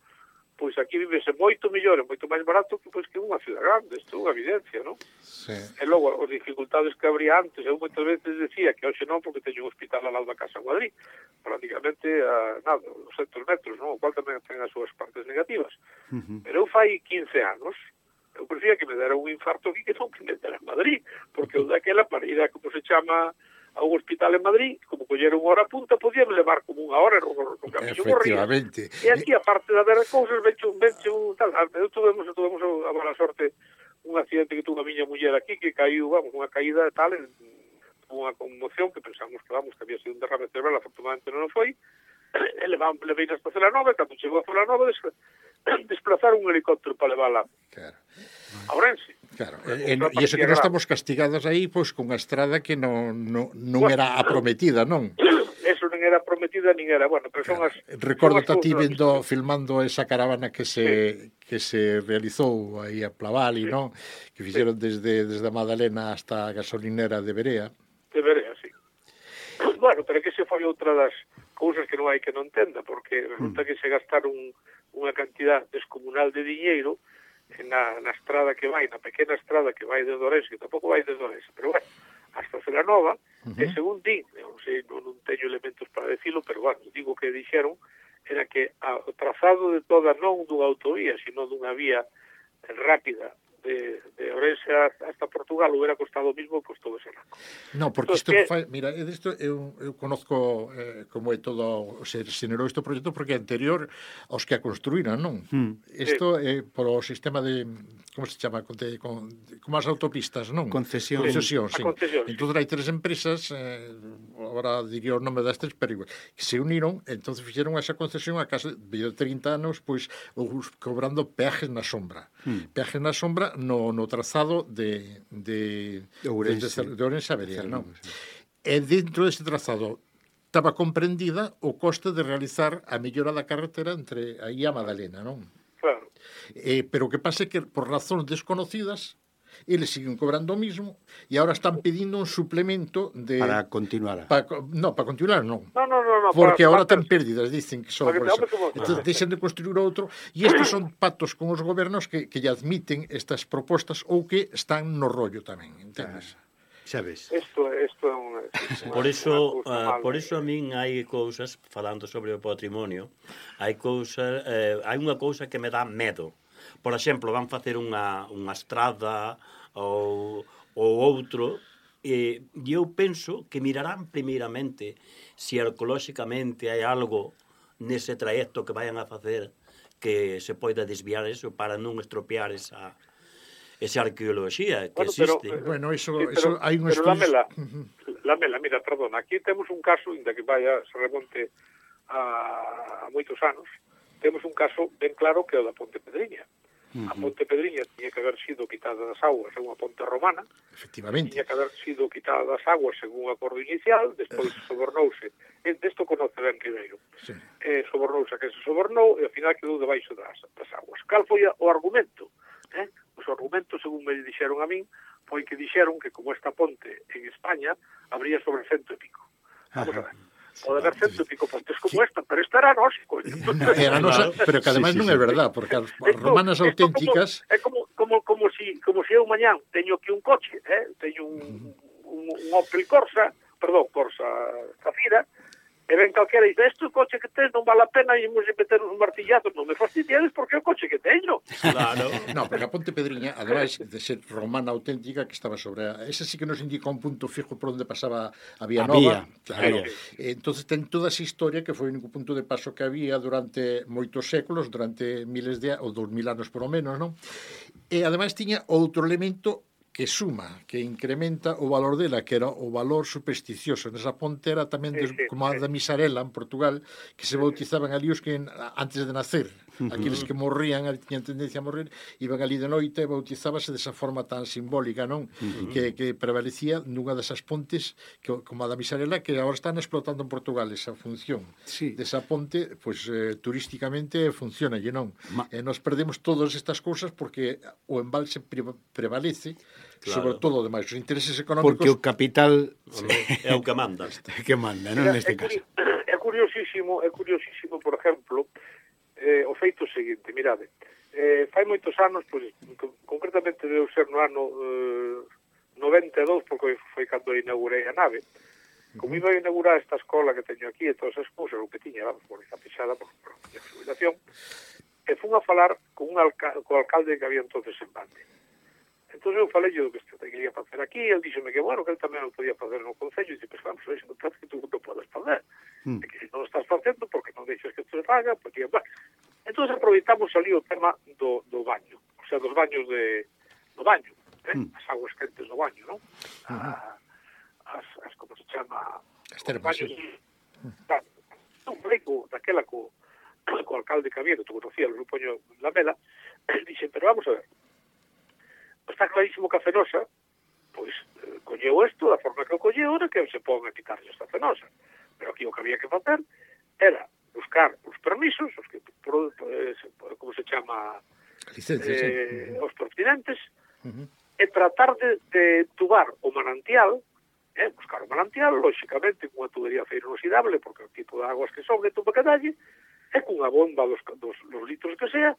pois aquí vivese moito mellor e moito máis barato que pois que unha ciudad grande, isto é unha evidencia, non? Sí. E logo, as dificultades que habría antes, eu moitas veces decía que hoxe non, porque teño un hospital ao lado da casa en Madrid, prácticamente a, nada, doscientos metros, non? O cual tamén ten as súas partes negativas. Uh -huh. Pero eu fai quince anos, eu prefería que me dera un infarto aquí que non que me dera en Madrid, porque eu daquela para ir a, como se chama, a un hospital en Madrid, como collera unha hora a punta, podía me levar como unha hora no, no camiño morría. E aquí, aparte de haber cousas, venche un, venche un tal, eu tuvemos, tuvemos a mala sorte un accidente que tuvo a miña muller aquí, que caiu, vamos, unha caída tal, en, unha conmoción, que pensamos que, vamos, que había sido un derrame cerebral, afortunadamente non foi, e levamos, levei hasta Celanova, cando chegou a Celanova, des, desplazar un helicóptero para levarla claro. a Ourense. Claro, e, e iso que non estamos castigados aí, pois, con a estrada que non, non, non bueno, era a prometida, non? Eso non era prometida, nin era, bueno, pero claro. son as... Recordo a ti vendo, filmando esa caravana que se sí. que se realizou aí a Plavali, sí. non? Que fixeron sí. desde, desde a Madalena hasta a gasolinera de Berea. De Berea, sí. Bueno, pero que se foi outra das cousas que non hai que non entenda, porque resulta mm. que se gastaron unha cantidad descomunal de diñeiro na, na estrada que vai, na pequena estrada que vai de Ourense, que tampouco vai de Ourense, pero bueno, hasta Celanova, uh -huh. e según din, non sei, non, non teño elementos para decirlo, pero bueno, digo que dixeron, era que a, o trazado de toda non dunha autovía, sino dunha vía rápida de, de Ourense hasta Portugal hubiera costado o mismo que costou ese rango. No, porque isto que... fai, mira, isto eu, eu conozco eh, como é todo, se generou este proxecto porque é anterior aos que a construíran, non? Isto é sí. eh, por o sistema de, como se chama, con, de, con, como as autopistas, non? Concesión. Concesión, sí. Concesión, sí. Entón hai tres empresas, eh, agora diría o nome destas, pero igual, que se uniron, entón fixeron esa concesión a case de trinta anos, pois, cobrando peajes na sombra. Hmm. Peajes na sombra no, no trazado de de, de Ourense, de, de Ourense a Berea, non? Sí. E dentro deste trazado estaba comprendida o coste de realizar a mellora da carretera entre aí a Madalena, non? Claro. Eh, pero o que pasa é que por razóns desconocidas eles siguen cobrando o mismo e agora están pedindo un suplemento de... Para continuar. Pa, no, para continuar non. No, no, no, no. Porque para, agora para, ten pérdidas, dicen que son Porque por te eso. hablo como- Entón, deixan de construir outro e estes son pactos con os gobernos que, que lle admiten estas propostas ou que están no rollo tamén, entendes? Xa ves. Isto, isto é un... Por iso, unha cousa uh, mal, por eh. iso a min hai cousas, falando sobre o patrimonio, hai cousas, eh, hai unha cousa que me dá medo. Por exemplo, van facer unha, unha estrada ou, ou outro, e eu penso que mirarán primeiramente se ecolóxicamente hai algo nese trayecto que vayan a facer que se poida desviar eso para non estropear esa esa arqueoloxía que Bueno, pero, existe. eh, Bueno, eso, Sí, eso pero, hai un pero estudio... Lamela, Lamela, mira, perdona, aquí temos un caso, inda que vaya, se remonte a, a moitos anos, temos un caso ben claro que é o da Ponte Pedriña. A Ponte Pedriña tiña que haber sido quitada das aguas en unha ponte romana, Efectivamente. tiña que haber sido quitada das aguas en un acordo inicial, despois sobornouse, e desto conoce ben Ribeiro, Sí. eh, sobornouse a que se sobornou e ao final quedou debaixo das, das aguas. Cal foi o argumento? Eh? Os argumentos, según me dixeron a min, foi que dixeron que como esta ponte en España habría sobre cento e pico. Vamos a ver. Pode haber cento e pico pontes como esta, pero esta era nosa, coño. Era nosa, pero que además Sí, sí, non sí. é verdad, porque as Esto- romanas esto auténticas... Como, é como, como, como, si, como si eu mañán teño aquí un coche, eh? teño un, un, un Opel Corsa, perdón, Corsa Zafira, e ven calquera e dice, este coche que tens non vale a pena e imos meter uns martillazos, non me fastidiades porque é o coche que teño. Claro. No, porque a Ponte Pedriña, ademais de ser romana auténtica, que estaba sobre... A... Ese sí que nos indica un punto fijo por onde pasaba a Vía A Nova. vía, Claro. a vía. Entonces ten toda esa historia que foi o único punto de paso que había durante moitos séculos, durante miles de... ou dos mil anos por lo menos, non? E ademais tiña outro elemento que suma, que incrementa o valor dela, que era o valor supersticioso. Nesa ponte era tamén Sí, des, sí, como a sí. da Misarela, en Portugal, que se bautizaban ali os que antes de nacer. Aqueles que morrían, tiñan tendencia a morrer, iban ali de noite e bautizábase desa forma tan simbólica, non? Que, que prevalecía nunha desas pontes, que, como a da Misarela, que agora están explotando en Portugal esa función. Sí. Desa ponte, pois, eh, turísticamente funciona, e non? Ma- E nos perdemos todas estas cousas porque o embalse pre prevalece, Claro. sobre todo, ademais, os intereses económicos... Porque o capital É o que manda. que manda, non, Mira, neste é, caso. curi- é curiosísimo, é curiosísimo, por exemplo, eh, o feito seguinte, mirade, eh, fai moitos anos, pois, con- concretamente deu ser no ano eh, noventa e dous, porque foi cando inaugurei a nave, como iba a inaugurar esta escola que teño aquí e todas as cousas, o que tiña, vamos, por esa pisada, por, por a jubilación, e fun a falar con un alca co alcalde que había entonces en Bande. Entón eu falei do que este quería facer aquí, e el díxome que, bueno, que ele tamén o podía facer no Concello, e dice, pues vamos, eso non parece que tú non podes fazer. Mm. E que se non o estás facendo, porque non deixas que isto se faga, porque... Bueno. Entón aproveitamos ali o tema do, do baño, o sea, dos baños de... do baño, eh? Mm. As aguas quentes do baño, non? Ah, as, as, como se chama... As os termas, baños, sí. Claro. Un falei co, daquela co, co alcalde que había, que tú conocías, o Poño Lamela, dixe, pero vamos a ver, está clarísimo que a Fenosa, pois, eh, colleu isto da forma que o colleu, era que se pon a quitarlle esta Fenosa. Pero aquí o que había que facer era buscar os permisos, os que, por, eh, como se chama, Licencias, eh, sí. os pertinentes, Uh -huh. e tratar de, de tubar o manantial, eh, buscar o manantial, lóxicamente, cunha tubería feira inoxidable, porque o tipo de aguas que sobre tuba que dalle, e cunha bomba dos, dos, dos litros que sea,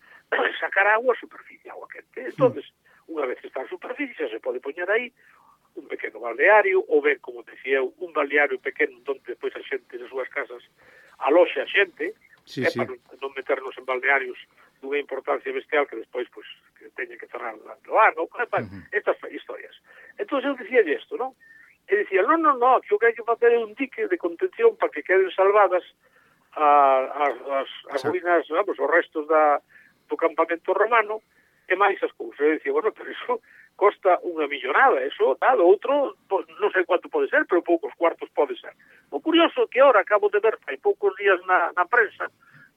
sacar agua a superficie, agua quente. Entonces, unha vez que está a superficie, xa se pode poñer aí un pequeno balneario, ou ben, como decía eu, un balneario pequeno onde depois a xente nas súas casas aloxa a xente, Sí, é sí. para non, non meternos en balnearios dunha importancia bestial que despois pois, que teña que cerrar o ano, é para Uh-huh. estas historias. Entón eu dicía isto, non? E dicía, non, non, non, que o que hai que facer é un dique de contención para que queden salvadas a, a, as, as Exacto. ruínas, vamos, os restos da, do campamento romano, e máis as cousas. Eu dicía, bueno, pero iso costa unha millonada, eso, tal, outro, pues, non sei quanto pode ser, pero poucos cuartos pode ser. O curioso que ahora acabo de ver, hai poucos días na, na prensa,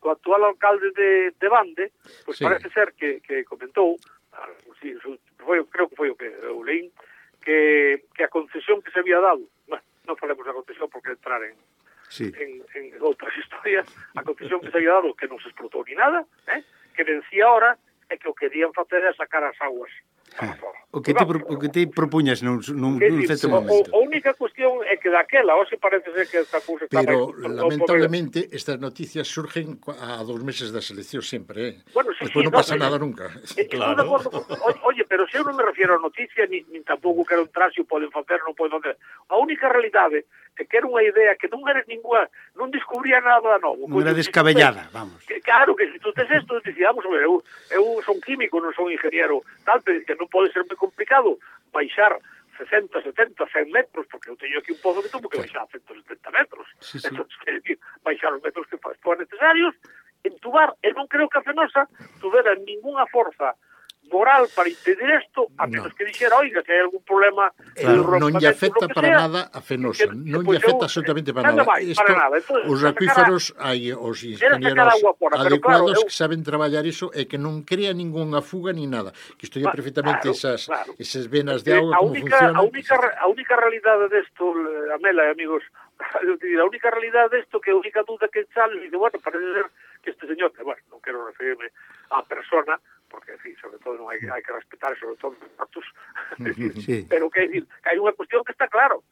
o actual alcalde de, de Bande, pues Sí. parece ser que, que comentou, ah, sí, foi, creo que foi o que eu leín, que, que a concesión que se había dado, bueno, non falemos da concesión porque entrar en, Sí. en, en outras historias, a concesión que se había dado que non se explotou ni nada, eh? Que vencía ahora, e que o querían facer é sacar as aguas O que te, pro- o que te propuñas nun, nun, Que nun dicir, certo o, momento. o, a única cuestión é que daquela, hoxe parece ser que esta cousa está Pero, máis- lamentablemente, estas noticias surgen cua- a dos meses das eleccións sempre, eh? Bueno, sí, Despois sí, non pasa no, nada nunca. Eh, Claro. Estou de acordo. O- Oye, pero se eu non me refiero a noticia, ni, ni tampouco quero entrar se o poden facer, non poden facer. A única realidade é que era unha idea que non era ninguna, non descubría nada novo. Non era Coño, se tú descabellada, tes- vamos. Que, claro, que se tú tes esto, dicíamos, eu, eu son químico, non son ingeniero, tal, pero que non pode ser moi complicado baixar sesenta, setenta, cen metros, porque eu teño aquí un pozo que tuvo que baixar a ciento setenta metros. Sí, sí. Entón, quer decir, baixar os metros que fa- foran necesarios, entubar, e non creo que a Fenosa tuvera ninguna forza moral para impedir esto, a menos No. que dixera, oiga, que hai algún problema Claro, de non lle rompamento, afecta lo que para sea, nada a Fenosa, que- non pois lle afecta eu- absolutamente para nada nada. máis, Isto, para nada. Entonces, os sacar acuíferos hai os sacar ingenieros agua fora, pero adecuados claro, eu- que saben traballar iso e que non crea ningunha fuga ni nada. Que estudia Va, perfectamente claro, esas, claro. esas venas de Eh, auga, a como única, funcionan. a única, re- a única realidade desto, eh, Amela e amigos, eu te digo, a única realidade desto que a única duda que sale, dice, bueno, parece ser que este señor, que, bueno, non quero referirme á persona, porque, en fin, sobre todo non hai, hai que respetar, sobre todo os datos, Sí. pero que, decir, que hai unha cuestión que está claro,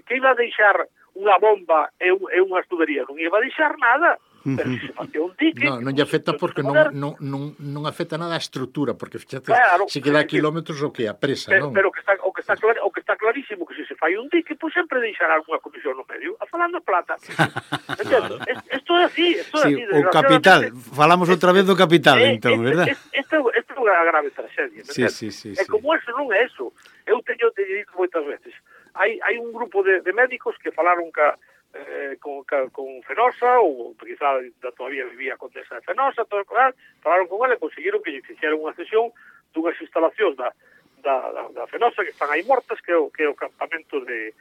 que iba a deixar unha bomba e, un, e unha tubería, non iba a deixar nada, pero se se facía un dique... No, non lle afecta porque non, non, non, non afecta nada a estrutura, porque fíjate, Claro, se queda a é dicir, kilómetros o que a presa, Pero, non? pero que está, o, que está clar, o que está clarísimo que se se fai un dique, pois sempre deixará algunha comisión no medio, a falando plata. Entendo? Isto é así, isto é Sí, así. o capital, falamos outra vez do capital, Eh, entón, este- verdad? este- Esta esta é unha grave tragedia. Sí, entende? sí, sí, E sí. como eso non é eso. Eu teño te dito moitas veces. Hai hai un grupo de, de médicos que falaron ca, eh, con, ca, con Fenosa, ou quizá da todavía vivía a Condesa de Fenosa, todo, claro, falaron con ele e conseguiron que lle fixeran unha sesión dunhas instalacións da, da, da, da Fenosa que están aí mortas, que é o, que é o campamento de,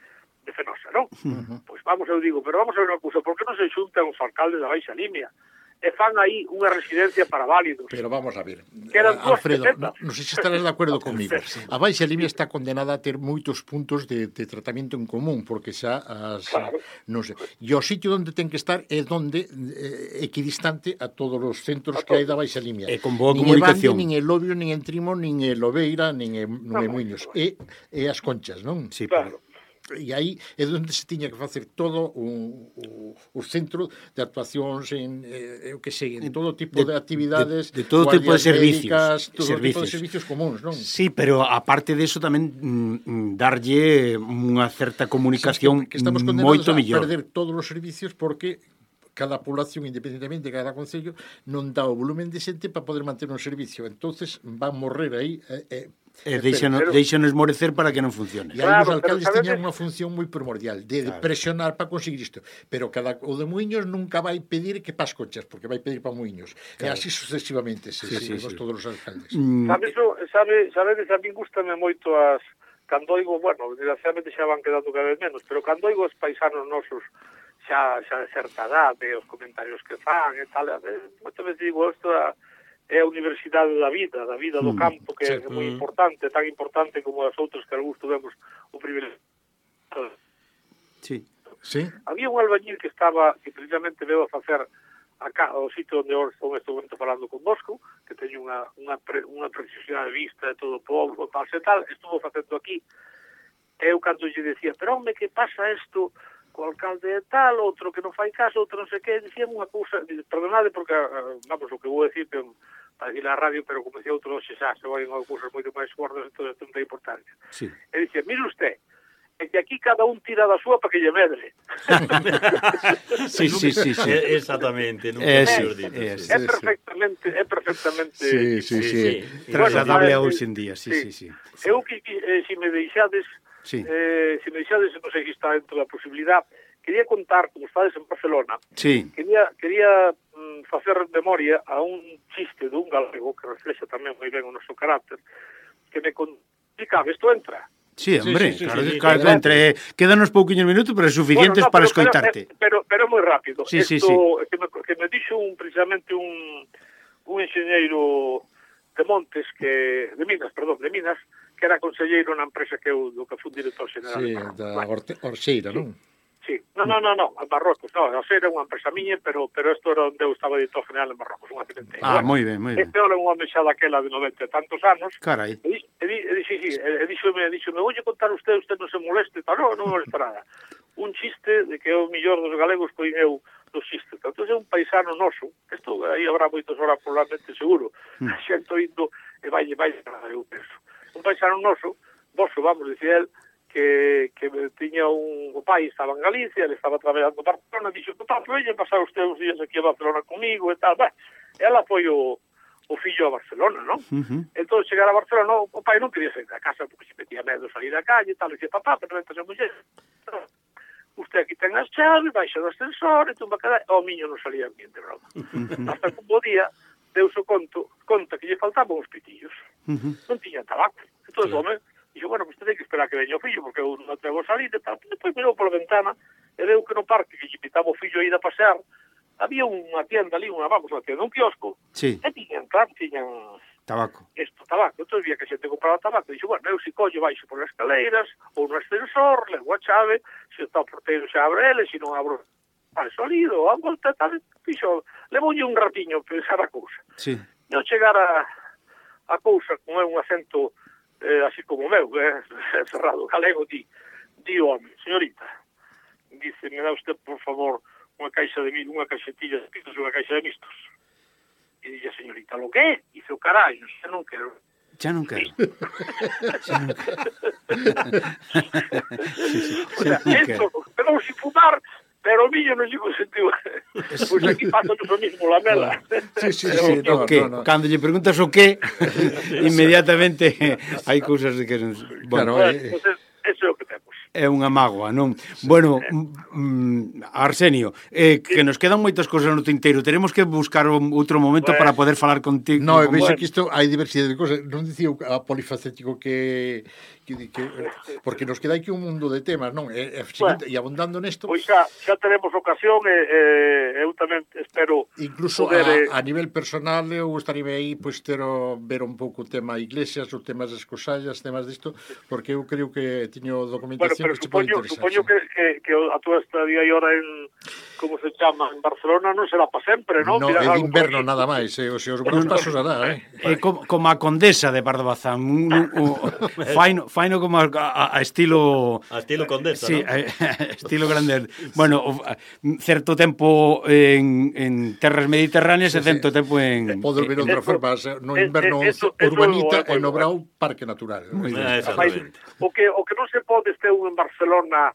de Fenosa, non? Uh-huh. Pois vamos, eu digo, pero vamos a ver unha cousa, por que non se xuntan os alcaldes da Baixa Limia e fan aí unha residencia para válidos? Pero vamos a ver, Que eran dúas Alfredo, pesetas. non sei se estarás de acordo comigo. A Baixa Limia está condenada a ter moitos puntos de, de tratamento en común, porque xa as, Claro. non sei. E o sitio onde ten que estar é donde eh, equidistante a todos os centros A que hai todos. da Baixa Limia. E con boa nin comunicación. Evande, nin en Lobio, nin en Trimo, nin en Lobeira, nin en, non en No, Muiños. E, e as Conchas, non? Sí, Claro. E aí é onde se tiña que facer todo o, o, o centro de actuacións en, eh, eu que sei, en todo tipo de, De- de actividades, de- de todo tipo de guardias servicios, médicas, todo tipo servicios. de servicios comuns, non? Sí, pero aparte de eso tamén mm, darlle unha certa comunicación que estamos condenados moito a mellor. perder todos os servicios porque cada población, independentemente de cada concello, non dá o volumen de xente para poder manter un servicio. Entonces van morrer aí eh, eh, E deixanos, pero- deixanos morecer para que non funcione. E aí os Claro, pero alcaldes sabedes- tiñan unha función moi primordial de Claro. presionar para conseguir isto. Pero cada o de Muiños nunca vai pedir que pas Conchas, porque vai pedir para Muiños. E así sucesivamente, se Sí, sí, seguimos sí. todos os alcaldes. Mm, Sabe, eso, sabe, sabedes, a mí gustame moito as cando oigo, bueno, desgraciadamente xa van quedando cada vez menos, pero cando oigo os paisanos nosos xa, xa de certa edade, os comentarios que fan e tal, eh, moitas veces digo, isto é, é a universidade da vida, da vida do Mm, campo, que sí. é moi Mm. importante, tan importante como as outras que algúns tuvemos o privilegio. sí. Sí? Había un albañil que estaba, que precisamente veo a facer acá, o sitio onde eu estou neste momento falando con Bosco, que teño unha, unha, pre, unha precisidade de vista de todo o povo, tal e tal, estuvo facendo aquí. E eu cando lle decía, pero home, que pasa isto co alcalde de tal, outro que non fai caso, outro non sei que, dicían unha cousa, perdonade porque, eh, vamos, o que vou decir, pero, para ir á radio, pero como decía outro, xe xa, se vai a cousas moito máis gordas, entón non ten importancia. Sí. E dicía, mire usted, é que aquí cada un tira da súa para que lle medre. Sí, sí, sí, sí. Eh, Exactamente, nunca Eh, mellor sí, dito, eh, sí. É perfectamente, é perfectamente... Sí, sí, sí. Trasladable a Bueno, hoxe en día, sí, sí, sí. Eu que, que eh, si me deixades, Sí. eh, si me deixades, non sei se está dentro da posibilidad, quería contar, como estades en Barcelona, Sí. quería, quería mm, facer memoria a un chiste dun galego que reflexa tamén moi ben o noso carácter, que me explicaba, isto entra. Sí, hombre, sí, sí, claro, sí, que- claro que adelante. entre quedanos pouquiños minutos, pero suficientes Bueno, no, para pero- pero- escoitarte. Pero, pero, moi rápido. Sí, sí, Esto, Que, me, que me dixo un, precisamente un, un enxeñeiro de Montes, que de Minas, perdón, de Minas, que era conselleiro na empresa que eu, do que fui director general. Sí, de Barro. da Bueno, Orte, Orxeira, non? Sí, no, no, no, no, en Marrocos, no, a ser era unha empresa miña, pero pero isto era onde eu estaba editor general en Marrocos, unha accidente. Ah, moi ben, moi ben. Este era un home xa daquela de noventa e tantos anos. Carai. E, e, e, e, sí, sí, e, e díxome, díxome, oulle contar usted, usted non se moleste, tal, non, non molesta nada. Un chiste de que é o mellor dos galegos pois eu dos chistes. Entón é un paisano noso, isto aí habrá moitos horas probablemente seguro, mm. a xente indo e vai, vai, eu penso. Un paisano noso, vosso, vamos, dicir el, que, que tiña un o pai, estaba en Galicia, ele estaba traballando en Barcelona, dixo, papá, veña pasar usted uns días aquí a Barcelona comigo e tal, bah, ela foi o, o fillo a Barcelona, non? Uh -huh. Entón, chegar a Barcelona, o, o pai non quería sair da casa porque se metía medo salir da calle e tal, e dice, papá, pero entonces a muller, usted aquí ten as chaves, baixa do ascensor, e tumba cada... O miño non salía bien de broma. Uh -huh. Hasta que un bo día, deus o conto, conta que lle faltaban os pitillos. Uh -huh. Non tiña tabaco. Entón, sí. O home, dixo, bueno, pues ten que esperar que veña o fillo, porque eu non atrevo a salir e tal. Depois mirou pola ventana e veu que no parque que lle pitaba o fillo a ir a pasear, había unha tienda ali, unha, vamos, unha tienda, un kiosco, sí. E tiñan, claro, tiñan... Tabaco. Isto, tabaco. Entón, vía que a xente compraba tabaco. Dixo, bueno, eu si collo baixo por as escaleiras, ou no ascensor, levo a chave, se está o porteiro xa abre ele, se non abro al sonido, a volta, tal, fixo, levoulle un ratiño pensar a cousa. Sí. Eu chegar a, a cousa con un acento eh, así como o meu, eh, cerrado, galego, di, di o home, señorita, dice, me dá usted, por favor, unha caixa de unha caixetilla de pitos e unha caixa de mistos. E dille, señorita, lo que? Dice, o carallo, xa non quero. Xa non quero. Xa non quero. Sí, sí, o sea, esto, pero sin fumar, pero o miño non lle consentiu. Pois aquí pasa o mismo, la mela. Sí, sí, sí, no, o que, no, no. Cando lle preguntas o que, inmediatamente hai cousas de que... Bueno, claro, eh, pues, eso é o que temos. É unha mágoa, non? Bueno, mm, Arsenio, eh, que nos quedan moitas cousas no tinteiro. Teremos que buscar un, outro momento pues, para poder falar contigo. No, con vexe que isto hai diversidade de cousas. Non dicía a polifacético que... Que, que, porque nos queda aquí un mundo de temas, non? E, e, bueno, e abundando nesto... Pois xa, xa teremos ocasión e, e eu tamén espero... Incluso poder, a, a nivel personal eu estaría aí pois ter o, ver un pouco o tema iglesias, o temas das cosallas, temas disto, porque eu creo que tiño documentación bueno, que se pode supoño, interesar. Supoño que, que, que a túa estadía aí ahora en... como se chama? En Barcelona non será para sempre, non? No, é de inverno nada máis, eh, o se os bons pasos hará, eh? É como, como a condesa de Pardo Bazán, un, un, un, faino, faino como a, a, a estilo... A estilo condesa, sí, ¿no? Sí, estilo grande. Bueno, certo tempo en, en terras mediterráneas sí, e certo sí. tempo en... Podo ver outra forma, no inverno eso, eso, urbanita eso, e no brau parque natural. Muy bien. Exactamente. O que, o que non se pode este un en Barcelona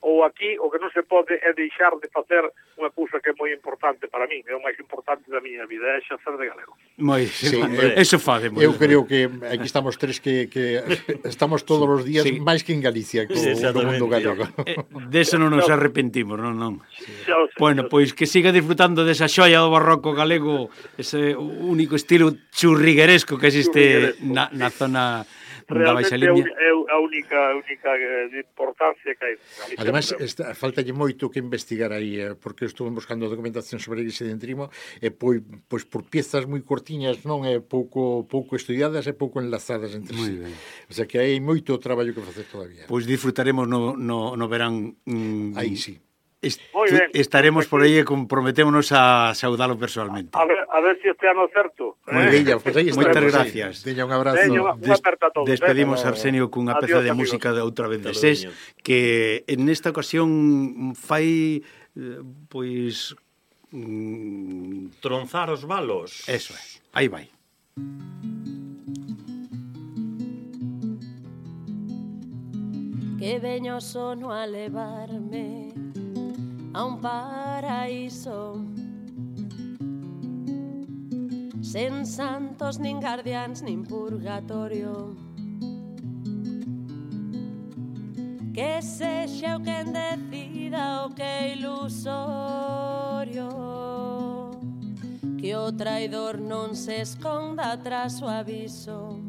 ou aquí, o que non se pode é deixar de facer unha cousa que é moi importante para mí, é o máis importante da miña vida, é xacer de galego. Moi, sí, eso fade. Eu creo que aquí estamos tres que, que estamos todos os días sí. máis que en Galicia, co, sí, no mundo galego. Eh, de eso non nos arrepentimos, non, non. Sí, bueno, pois que siga disfrutando desa xoia do barroco galego, ese único estilo churrigueresco que existe na, na zona... Realmente é a única, única importancia que hai. Ademais, está, faltalle moito que investigar aí, eh, porque estuve buscando documentación sobre a Igrexa de Entrimo, e pois, pois por piezas moi cortiñas, non é pouco pouco estudiadas e pouco enlazadas entre si. O sea que hai moito traballo que facer todavía. Pois disfrutaremos no, no, no verán. Mm, aí sí. Est estaremos por aí e comprometémonos a saudalo personalmente. A ver, a ver si este ano certo. Moi eh? bella, pues aí estaremos. Moitas gracias. Deña un abrazo. Deña unha aperta a todos. Despedimos eh? a Arsenio cunha peza de amigos. Música de outra vez de SES, que en esta ocasión fai pois mm, tronzar os balos. Eso é. Aí vai. Que veño sono a levarme a un paraíso sen santos, nin guardiáns, nin purgatorio. Que sexa o quen decida o que é ilusorio, que o traidor non se esconda tras o aviso,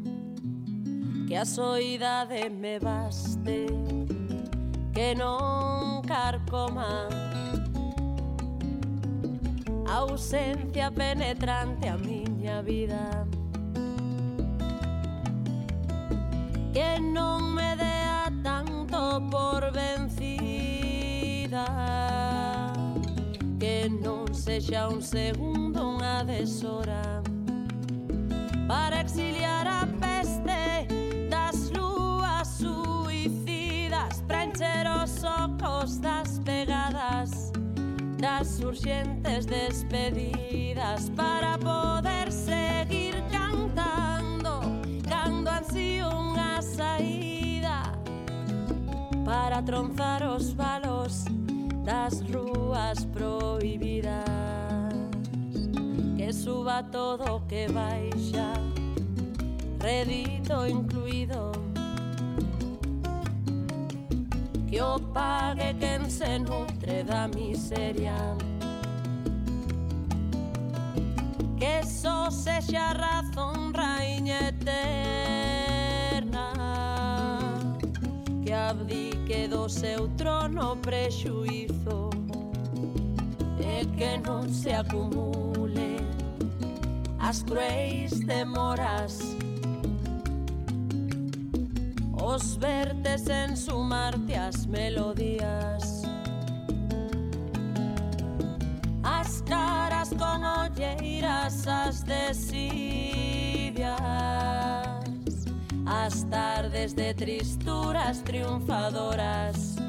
que a soidade me baste, que non carcoma a ausencia penetrante a miña vida, que non me dea tanto por vencida, sexa un segundo unha deshora para exiliar a peste das lúas suicidas, para encher os ocos das pegadas, das urxentes despedidas, para poder seguir cantando cando ansío unha saída, para tronzar os valos das rúas prohibidas, que suba todo que baixa, redito incluído, que o pague quen se nutre da miseria, que só sexa razón raíña eterna, que abdique do seu trono prexuízo e que non se acumule as cruéis demoras, os vertes en sumarte as melodías, as caras con olleiras, as desidias, as tardes de tristuras triunfadoras,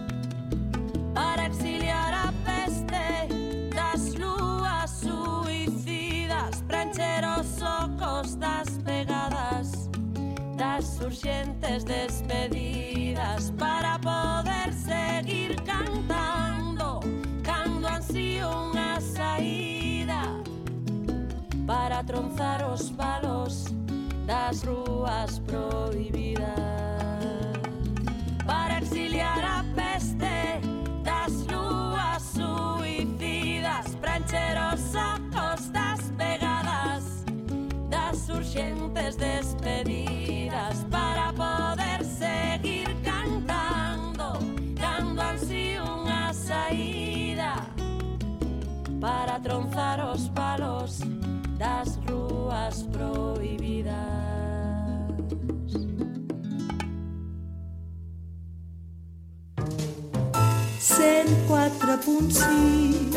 para exiliar a peste das lúas suicidas, para encher os ocos das pegadas, das urxentes despedidas, para poder seguir cantando cando ansío unha saída, para tronzar os valos das rúas prohibidas, para exiliar a peste das lúas suicidas, para encher os ocos das pegadas, das urxentes despedidas, para poder seguir cantando cando ansío unha saída, para tronzar os palos das rúas prohibidas. cent quatre punt cinc